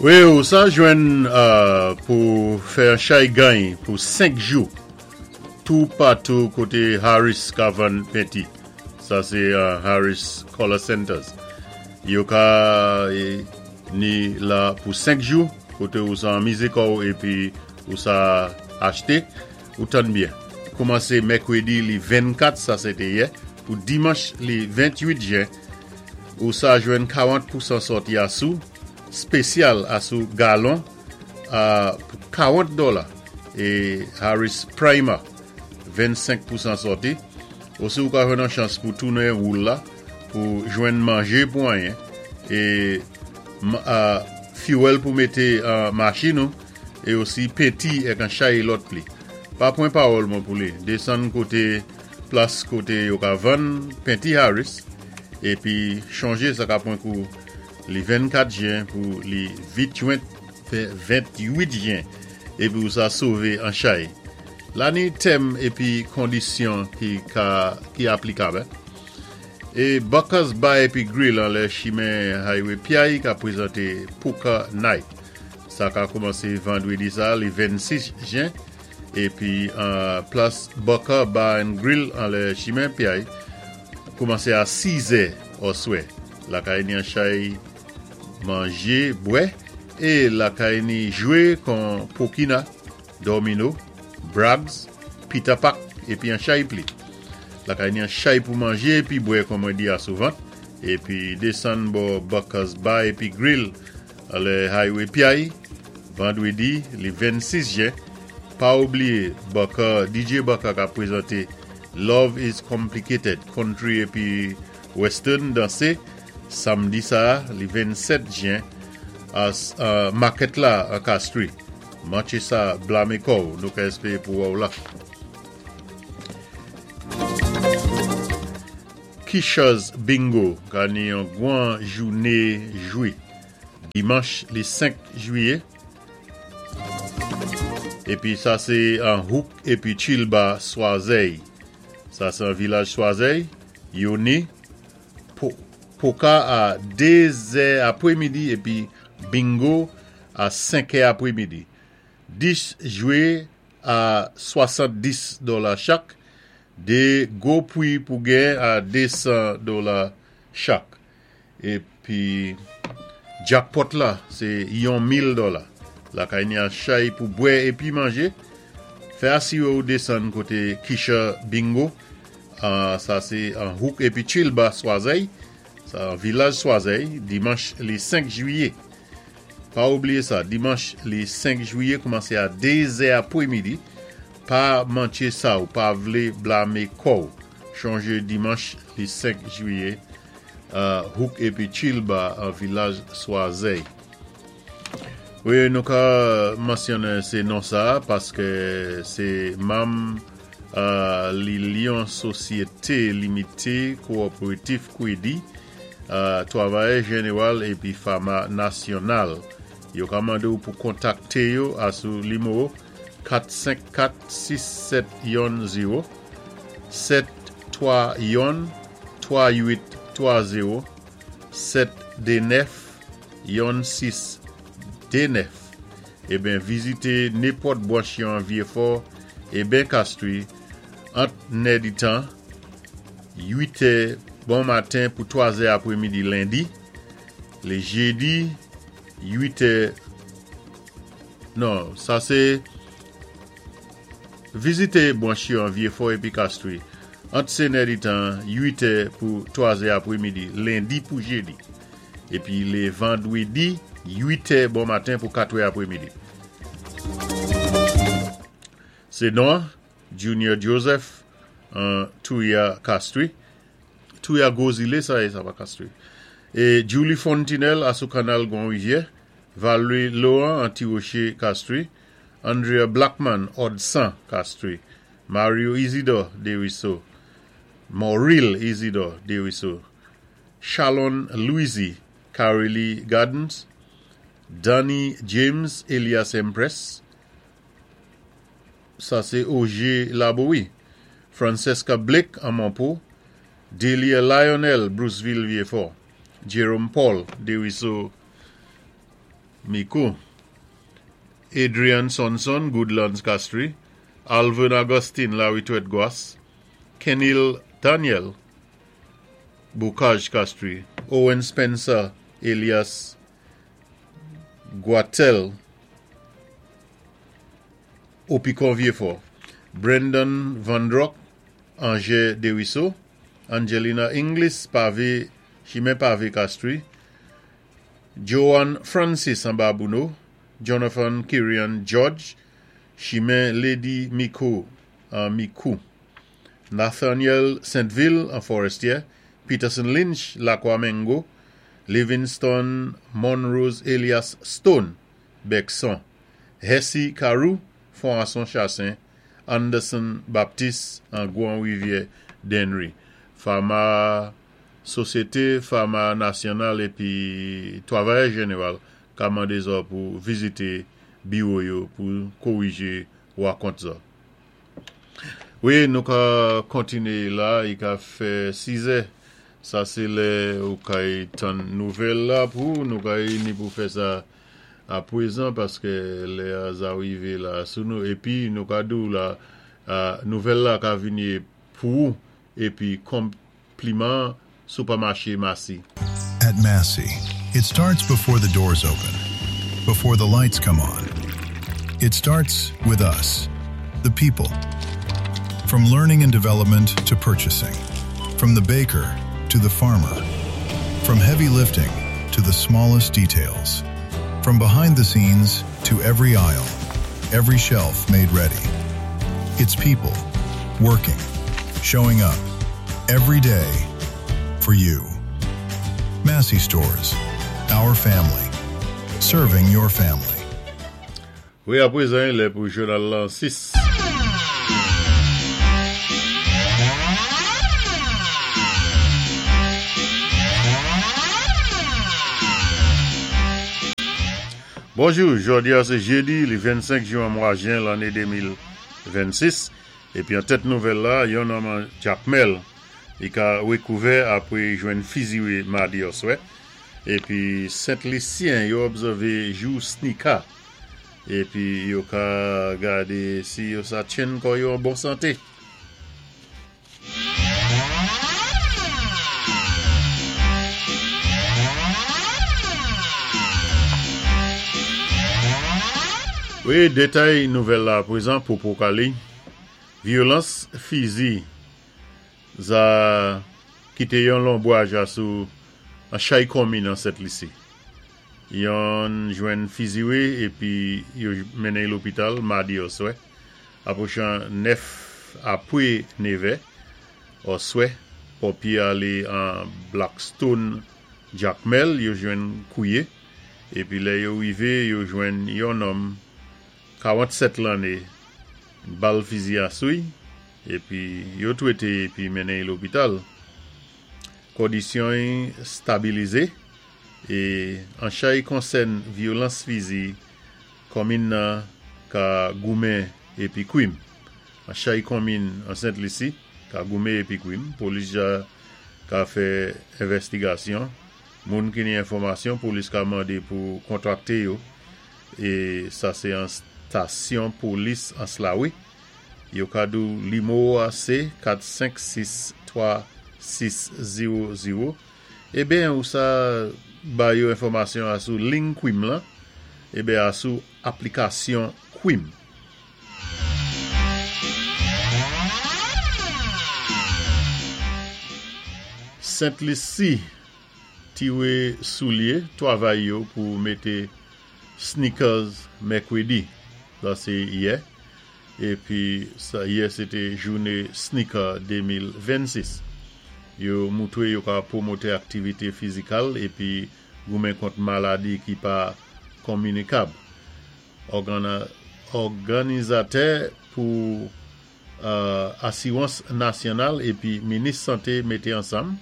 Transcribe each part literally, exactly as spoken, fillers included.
Wi, ou sa jwenn euh, pou fè an chay gany pou senk jou tou patou koté Harris ka vann penti. Sa sé euh, Harris Color Centers. Yo ka eh, ni la pou senk jou koté ou sa anmizé kò'w épi ou sa achté ou tann byen. Koumansé mèkwédi li vennkat, sa sé té yè, pou dimanch li ventwit jen, ou sa jwenn karant pousan sòti asou spesyal asou galon a pou karant dola é Harris Primer vennsenk pousan sòti. Osi ou ka jwenn an chans pou tounen woul la pou jwenn manjé pou anyen é uh, fuel pou mété uh, machin nou é osi penti èk an chay lòt pli. Pa pwan pawòl mwen pou li. Désann koté plas koté yo ka vann penti Harris épi chonjé sa ka pwan kou li vennkat jen pou li ventwit jen épi ou sa sové an chay. La ni tèm épi kondisyon ki, ka, ki aplikab. É Buckers Bar épi Grill an lè chimen Highway Piaye ka prézenté Poker Night. Sa ka koumansé vandwédi sa, li vennsis jen, épi uh, plas Bucker Bar and Grill an lè chimen Piaye koumansé a sis è oswè. Lakay ni an chay manjé, bwè, é lakay ni jwé kon pokina, domino, brags, pita pak, épi an chay pli. Lakay ni an chay pou manjé épi bwè kon mwen di asouvan, épi désann bò Buckers Bar épi Grill an lè Highway Piaye, vandwédi li vennsis jen. Pa oubliyé, Bucker, D J Bucker ka prézenté Love is Complicated, country épi western dansé, samdi sa, li vennsèt jen, as uh, market la a Castries. Manché sa blamé kò'w, nou ka èspéwé pou wè'w la. Kisha's Bingo ka ni yon gwan jouné jwé. Dimanch li senk jwiyé. Épi sa sé an Hook épi Chilba Swazey. Sa sé an vilaj Swazey. Yo ni po, poka a dé zè apwémidi épi bingo a senk è apwémidi. Dis jwé a swasanndis dola chak. Dé gwo pwi pou gen a désan dola chak. Épi jackpot la, sé yon mil dola. Lakay ni an chay pou bwè épi manjé. Fè asiwé ou désann koté Kisha Bingo. Uh, sa sé an Hook épi Chilba Swazey. Sa an vilaj Swazey, dimanch li senk jwiyé. Pa oubliyé sa, dimanch li senk jwiyé koumansé a dé zè apwémidi. Pa manché sa ou pa vlé blamé kò'w. Chonjé dimanch li senk jwiyé, uh, Hook épi Chilba an vilaj Swazey. Wi, nou ka mansyonnen sé non sa paské sé manm uh, li Lyon Sosyété Limité Kowopératif Kwédi, uh, Twavayè Jénéwal épi Fama Nasyonal. Yo ka mandé ou pou kontakté yo asou nimewo kat senk kat sis sèt youn zewo sèt twa youn twa uit twa zewo sèt dé nèf youn sis dé nèf. Eben vizité nenpòt branch yo an Vieux-Fort é ben Castries ant nèditan uit è bon maten pou twa zè apwémidi lendi, lé jédi uit è non, sa sé vizité branch yo an Vieux-Fort épi Castries ant sé nèditan uit è pou twa zè apwémidi lendi pou jédi épi lé vandwédi uit è bon maten pou kat è apwémidi. Sé non Junior Joseph an Touya Castries. Touya Gozile sa é, sa pa Castries. É Julie Fontenelle asou kanal Grand Rivière, Valerie Laurent an Tirocher Castries, Andrea Blackman Odsan Castries, Mario Isidore Deriso, Mauril Isidore Deriso, Shalon Louisi Carili Gardens, Danny James Elias Empress, sa sé O G Laboui, Francesca Blake an Monpo, Delia Lionel Bruceville Vieux-Fort, Jerome Paul Deriso. Micoud. Adrian Sonson, Goodlands Castries, Alvin Augustine, La Retraite Goisse, Kenil Daniel, Bocage Castries, Owen Spencer, Elias Guatel, Opicon Vieux-Fort, Brendan Van Rock, Angers Desruisseaux, Angelina Inglis, Pavé, Chimè Pavé Castries, Joan Francis Babouno, Jonathan Kirian George, Chimè Lady Miko, Micoud, Nathaniel Saint-Ville en Forestier, Peterson Lynch, Laquamengo, Livingston Monrose Elias Stone, Bexon, Hesse Carew, Fonson Chassin, Anderson Baptiste en Grand Rivière Dennery. Pharma Sosyété Pharma Nasyonal épi Twavayè Jénéwal ka mandé zòt pou vizité biwo yo pou kowijé wakont sa. Wi, nou ka kontiné la, i ka fè sizè. Sa sé lè ou kay tann nouvèl la pou, nou kay ni pou fè sa apwézan paské lè a za wivé la sou nou. Épi nou ka di ou la, nouvèl la ka vini pou ou, épi konpliman sipèmaché Massy. At Massy, it starts before the doors open, before the lights come on. It starts with us, the people. From learning and development to purchasing, from the baker to the farmer, from heavy lifting to the smallest details, from behind the scenes to every aisle, every shelf made ready. It's people working, showing up every day for you. Massy Stores, our family, serving your family. Wi, apwézan, lè pou jounal lan sis. Bonjou, jòdi a sé jédi, li vennsenk jwen mwa jen lanné de mil vennsis. Épi an tèt nouvèl la, yon nonm an Jakmèl, i ka wékouvè apwé jwenn fiziwé madi oswè. Épi Sent-Lisyen yo obsèvé jou sneaker. Épi yo ka gadé si yo sa tjenn kò yo an bon santé. Wi, détay nouvèl la apwézan pou Pokali. Vyolans fizi za kité yon lonbwaj asou an chay konmin an Sent-Lisi. Yon jwenn fiziwé épi yo mennen lopital madi oswè. Apwochan nèf apwé nevè oswè, ponpyé alé an Blackstone Jakmèl, yo jwenn kouwé. Épi lè yo wivé, yo jwenn yon nonm kawantsèt lanné bal fizi asou i, épi yo twété épi mennen lopital. Kondisyon stabilizé é an chay konsèn vyolans fizi konmin nan ka goumen épi kwim. An chay konmin an Sent-Lisi ka goumen épi kwim, polis ja ka fè envèstigasyon. Moun ki ni enfòmasyon, polis ka mandé pou kontakté yo. É sa sé an stasyon polis an Slawi. Yo ka di ou limo a sé kat senk sis twa sis zewo zewo. Ében ou sa ba yo enfòmasyon asou ling kwim lan, ében asou aplikasyon kwim. Sent-Lisi tiwé soulyé twavay yo pou mété sneakers mèkwédi. Sa sé yè. Épi sa yè sé té jouné sneaker de mil vennsis. Yo moutwé yo ka pwomoté aktivité fizikal épi goumen kont maladi ki pa kominikab. Òganizatè pou euh, Asiwans Nasyonal épi Minis Santé mété ansanm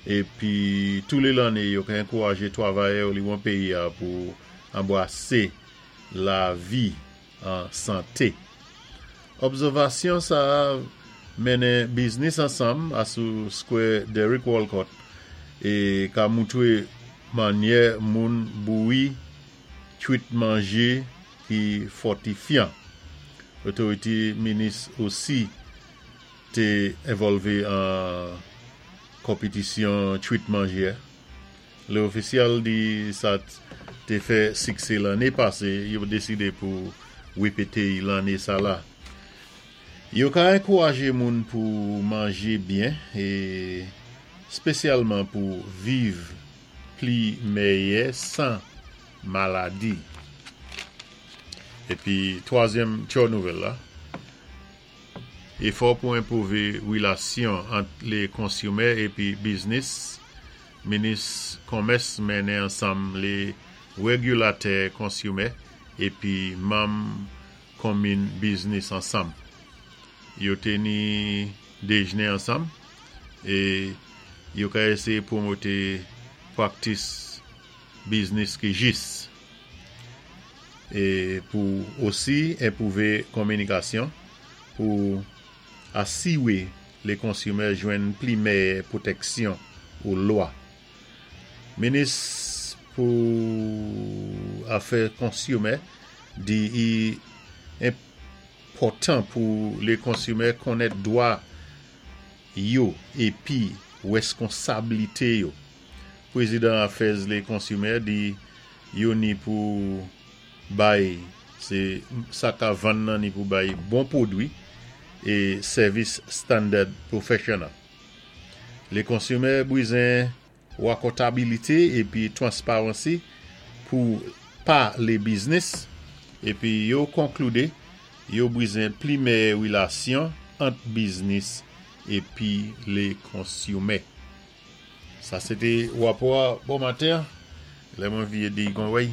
épi tou lé lanné yo ka ankourajé twavayè liwon péyi a pou anbwasé lavi an santé. Obsèvasyon sa mennen biznis ansanm asou Square Derek Walcott é ka moutwé mannyè moun bouwi Twit manjé ki fòtifyan. Otorité minis osi té envòlvé an konpitisyon twit manjé. Lé ofisyèl di sa té fè siksé lanné pasé, yo désidé pou wépété lanné sa la. Yo ka ankourajé moun pou manjé byen é spésyalman pou viv pli méyè san maladi. Épi, twazyèm ti nouvèl la, éfò pou enpwouvé wilasyon ant lé konsimè épi biznis, minis komès mennen ansanm lé wégilatè konsimè épi manm konmin biznis ansanm. Yo té ni déjné ansanm é yo ka éséyé pwomoté praktis biznis ki jis. É pou osi enpwouvé kominikasyon pou asiwé lé konsimè jwenn pli méyè pwotèksyon ou lwa. Minis pou afè konsimè di i enpòtan pou lé konsimè konnèt dwa yo épi wèskonsablité yo. Pwézidan afè lé konsimè di yo ni pou bay sé sa ka vann nan ni pou bay bon pwodwi é sèvis standard professional. Lé konsimè bizwen wakontabilité épi transparency pou pa lé biznis épi yo konkloudé yo bizwen pli méyè wilasyon ant biznis épi lé konsimè. Sa sé té wapò bon maten. Lè mwen vyé di kon wèy.